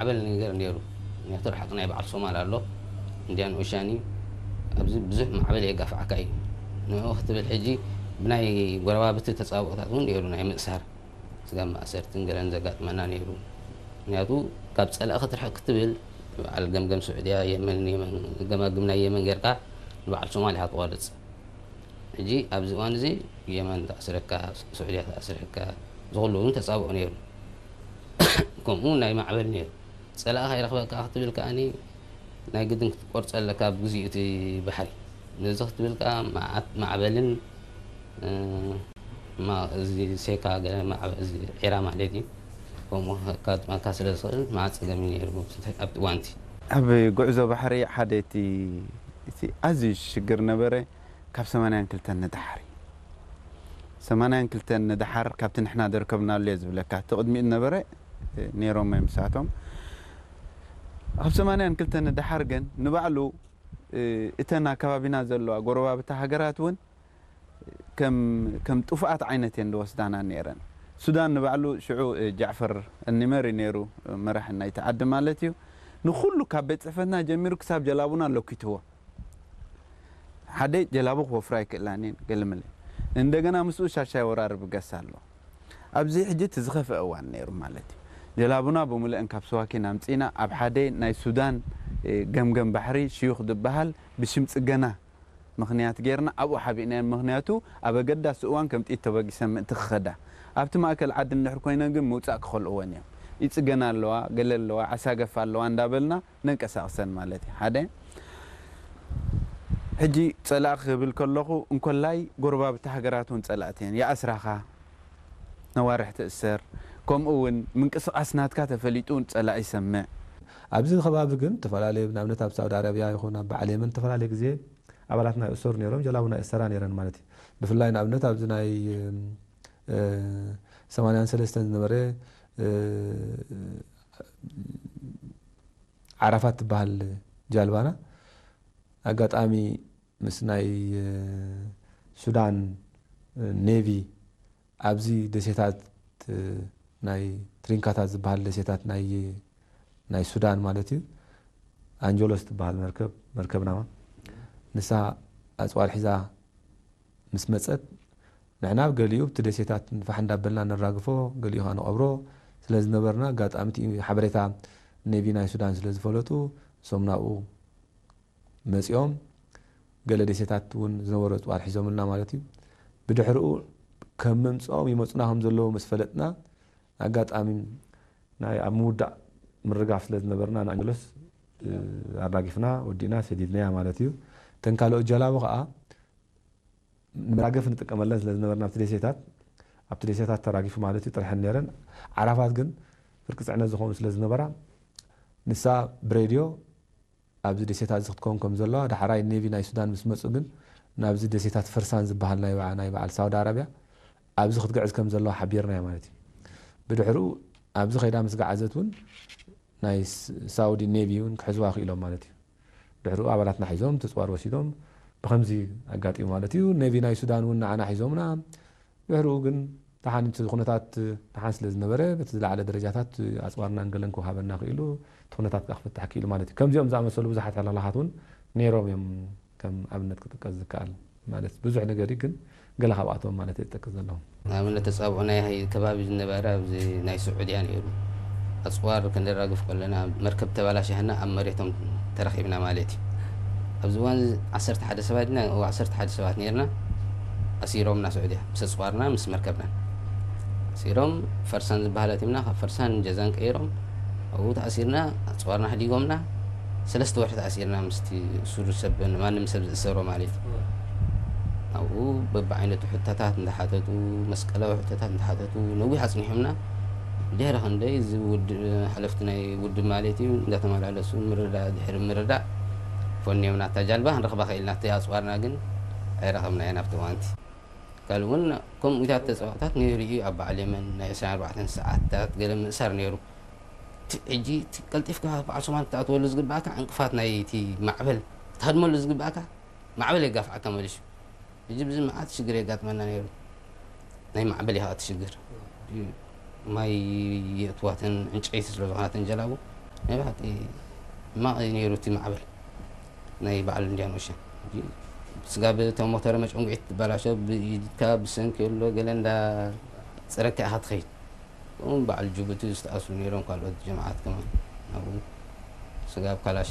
ማዕበል ነገር ነይሩ። ምክንያቱ ርሓቕ ናይ በዓል ሶማል ኣሎ፣ ኢንድያን ኦሽያን እዩ። ኣብዚ ብዙሕ ማዕበል የጋፍዓካ እዩ። ንኡ ክትብል ሕጂ ብናይ ጎረባብቲ ተጻብኦታት እውን ነይሩ፣ ናይ ምእሳር ስጋብ ማእሰርትን ገለን ዘጋጥመና ነይሩ። ምክንያቱ ካብ ጸላኢ ክትርሕቕ ክትብል በዓል ገምገም ስዑድያ፣ የመን፣ የመን፣ ገማግም ናይ የመን ጌርካ ንበዓል ሶማል ኢኻ ትቖርጽ። ሕጂ ኣብዚ እዋን እዚ የመን ተኣስረካ፣ ስዑድያ ተኣስረካ፣ ዝኹሉ እውን ተጻብኦ ነይሩ። ከምኡ ናይ ማዕበል ነይሩ። ጸላኢ ከይረኽበካ ክትብል ከኣኒ ናይ ግድን ክትቆርጸ ኣለካ ኣብ ግዜኡ እቲ ባሕሪ። ነዚ ክትብል ከኣ መዓት ማዕበልን፣ እ፣ ማ-፣ እዚ ሴካ ገለ ማዕበ-፣ እዚ ዒራ ማለት እዩ። ከምኡ ከጋጥመካ ስለ ዝኽእል መዓት ጸገም እዩ ነይሩ ኣብቲ እዋንቲ። ኣብ ጉዕዞ ባሕሪ ሓደ እቲ፣ እቲ ኣዝዩ ሽግር ነበረ ካብ ሰማንያን ክልተን ንደሓር እዩ። ሰማንያን ክልተን ንደሓር ካብቲ ንሕና ደርከብናሉ እየ ዝብለካ። እቲ ቅድሚኡ ነበረ፣ እ፣ ነይሮም እዮም ንሳቶም። ካብ ሰማንያን ክልተን ንደሓር ግን ንባዕሉ፣ እ፣ እተን ኣከባቢና ዘለዋ ጎረባብቲ ሃገራት እውን ከም፣ ከም ጥፉኣት ዓይነት እየን ዝወስዳና ነይረን። ሱዳን ንባዕሉ ሽዑ፣ እ፣ ጃዕፈር ኣልኒመር እዩ ነይሩ፣ እ፣ መራሒ ናይቲ ዓዲ ማለት እዩ። ንኹሉ ካብ ቤት ጽሕፈትና ጀሚሩ ክሳብ ጀላቡና ለኪትዎ። ሓደ ጀላቡ ክወፍራ ኣይክእላን እየን፣ ገለመለ። እንደገና ምስኡ ሻሻይ ወራሪ ብገስ ኣሎ። ኣብዚ ሕጂ እቲ ዝኸፍአ እዋን ነይሩ ማለት እዩ። ጀላቡና ብምልአን ካብ ስዋኪን ኣምጺእና ኣብ ሓደ ናይ ሱዳን፣ እ፣ ገምገም ባሕሪ ሽዩኽ ዝበሃል ብሽም ጽገና ምኽንያት ጌርና ኣብኡ ሓቢእናየን። ምኽንያቱ ኣብ ኣገዳሲ እዋን ከም ጥይት ተበጊሰን ምእንቲ ክኸዳ። ኣብቲ ማእከል ዓዲ እንድሕር ኮይነን ግን ምውጻእ ክኸልእወን እዮም። ይጽገና ኣለዋ፣ ገለ ኣለዋ፣ ዓሳገፍ ኣለዋ እንዳበልና ነንቀሳቕሰን ማለት እዩ። ሓደ ሕጂ ጸላኢ ክብል ከለኹ እንኮላይ ጎረባብቲ ሃገራት እውን ጸላእቲ እየን። ይኣስራኻ፣ ነዋርሕ ትእሰር፣ ከምኡ እውን ምንቅስቓስ ናትካ ተፈሊጡ ጸላኢ ይሰምዕ። ኣብዚ ከባቢ ግን ተፈላለየ፣ ንኣብነት ኣብ ሳውዲ ኣረብያ ይኹን ኣብ በዓል የመን ተፈላለየ ግዜ ኣባላትና ይእሰሩ ነይሮም፣ ጀላቡና ይእሰራ ነይረን ማለት እዩ። ብፍላይ ንኣብነት ኣብዚ ናይ፣ እ፣ ሰማንያን ሰለስተን ዝነበረ፣ እ፣ ዓራፋት ትበሃል ጃልባና ኣጋጣሚ ምስ ናይ፣ እ፣ ሱዳን፣ እ፣ ኔቪ ኣብዚ ደሴታት፣ እ፣ ናይ ትሪንካታት ዝበሃል ደሴታት ናይ፣ ናይ ሱዳን ማለት እዩ። ኣንጀሎስ ትበሃል መርከብ፣ መርከብና ንሳ ኣጽዋር ሒዛ ምስ መጸት፣ ንሕና ኣብ ገሊኡ ኣብቲ ደሴታት ንፋሕ እንዳበልና ነራግፎ፣ ገሊኡ ኸዓ ንቐብሮ ስለ ዝነበርና፣ ኣጋጣሚ እቲ ሓበሬታ ኔቪ ናይ ሱዳን ስለ ዝፈለጡ፣ እሶም ናብኡ መጺኦም፣ ገለ ደሴታት እውን ዝነበሩ ኣጽዋር ሒዞምልና ማለት እዩ። ብድሕሪኡ ከም ምምጽኦም ይመጹና ከም ዘለዉ ምስ ፈለጥና፣ ኣጋጣሚ ናይ ኣብ ምውዳእ ምርጋፍ ስለ ዝነበርና፣ ንኣንጀሎስ፣ እ፣ ኣራጊፍና፣ ወዲእና፣ ሰዲድናያ ማለት እዩ። እተን ካልኦት ጀላቡ ኸዓ ንመራገፊ ንጥቀመለን ስለ ዝነበርና፣ ኣብቲ ደሴታት፣ ኣብቲ ደሴታት ተራጊፉ ማለት እዩ፣ ጥርሐን ነይረን። ዓራፋት ግን ፍርቂ ጽዕነት ዝኾኑ ስለ ዝነበራ፣ ንሳ ብሬድዮ ኣብዚ ደሴታት እዚ ክትከውን ከም ዘለዋ፣ ዳሕራይ ኔቪ ናይ ሱዳን ምስ መጹ ግን፣ ናብዚ ደሴታት ፈርሳን ዝበሃል ናይ በዓ-፣ ናይ በዓል ሳውዲ ኣረብያ፣ ኣብዚ ክትግዕዝ ከም ዘለዋ ሓቢርናያ ማለት እዩ። ብድሕሪኡ ኣብዚ ከይዳ ምስ ገዓዘት እውን፣ ናይ ስ-፣ ሳውዲ ኔቪ እውን ክሕዝዋ ክኢሎም ማለት እዩ። ድሕሪኡ ኣባላትና ሒዞም፣ ተጽዋር ወሲዶም፣ ብኸምዚ ኣጋጢሙ ማለት እዩ። ኔቪ ናይ ሱዳን እውን ንዓና ሒዞምና። ድሕሪኡ ግን ደሓን እቲ ኩነታት ደሓን ስለ ዝነበረ፣ በቲ ዝለዓለ ደረጃታት ኣጽዋርናን ገለን ክወሃበና ክኢሉ፣ እቲ ኩነታት ከኣ ክፍታሕ ክኢሉ ማለት እዩ። ከምዚኦም ዝኣመሰሉ ብዙሓት ሕልኽላኻት እውን ነይሮም እዮም፣ ከም ኣብነት ክጥቀስ ዝከኣል። ማለት ብዙሕ ነገር እዩ፣ ግን ገለ ካብኣቶም ማለት እየ ዝጠቅስ ዘለኹ። ንኣብነት ተጻብኦ ናይ ከባቢ ዝነበረ ኣብዚ ናይ ስዑድያ ነይሩ። ኣጽዋር ከነራግፍ ከለና መርከብ ተበላሽሃና ኣብ መሬቶም ተረኺብና ማለት እዩ። ኣብዚ እዋን እዚ ዓሰርተ ሓደ ሰባት ኢና፣ እዎ ዓሰርተ ሓደ ሰባት ነይርና። ኣሲሮምና ስዑድያ ምስ ኣጽዋርና ምስ መርከብናን። ኣሲሮም ፈርሳን ዝበሃል ኣቲምና፣ ካብ ፈርሳን ጀዛን ቀይሮም ኣብኡ ተኣሲርና፣ ኣጽዋርና ኣሕዲጎምና። ሰለስተ ወርሒ ተኣሲርና ምስቲ እሱር ሰብ፣ ማንም ሰብ ዝእሰሮ ማለት እዩ። ኣብኡ በብዓይነቱ ሕቶታት እንዳሓተቱ፣ መስቀላዊ ሕቶታት እንዳሓተቱ ነዊሕ ኣጽኒሖምና። ድሕሪ ክንደይ እዚ ውድብ፣ ሓለፍቲ ናይ ውድብ ማለት እዩ፣ እንዳተመላለሱ ምርዳእ ድሕሪ ምርዳእ ፈንዮምና። እታ ጃልባ ክንረኽባ ክኢልና፣ እቲ ኣጽዋርና ግን ኣይረኸብናዮን ኣብቲ እዋንቲ። ካልእ እውን ከምኡታት ተጻዋታት ነይሩ እዩ። ኣብ በዓል የመን ናይ ዕስራን ኣርባዕተን ሰዓታት ገለ ምእሳር ነይሩ። እቲ ሕጂ እቲ ቀልጢፍካ በዓል ሶማል ክትኣትወሉ ዝግባእካ ዕንቅፋት ናይ እቲ ማዕበል ክትሃድመሉ ዝግባእካ ማዕበል የጋፍዓካ መሊሱ። ሕጂ ብዚ መዓት ሽግር የጋጥመና ነይሩ። ናይ ማዕበል ኢኻ እቲ ሽግር። ማይ የእትዋተን ዕንጨይቲ ስለ ዝኾናተን ጀላቡ ናይ ብሓቂ ሕማቕ እዩ ነይሩ እቲ ማዕበል ናይ በዓል ኢንድያን ኦሽን። ስጋብ እቶም ሞተር መጨንጉዒት ትበላሾ፣ ብኢድካ ብሰንኪ ኣሎ ገለ እንዳ ጽረካ ኢኻ ትኸይድ። ከምኡ በዓል ጅቡቲ ዝተኣስሩ ነይሮም፣ ካልኦት ጀማዓት ከማን ኣብኡ። ስጋብ ካላሽ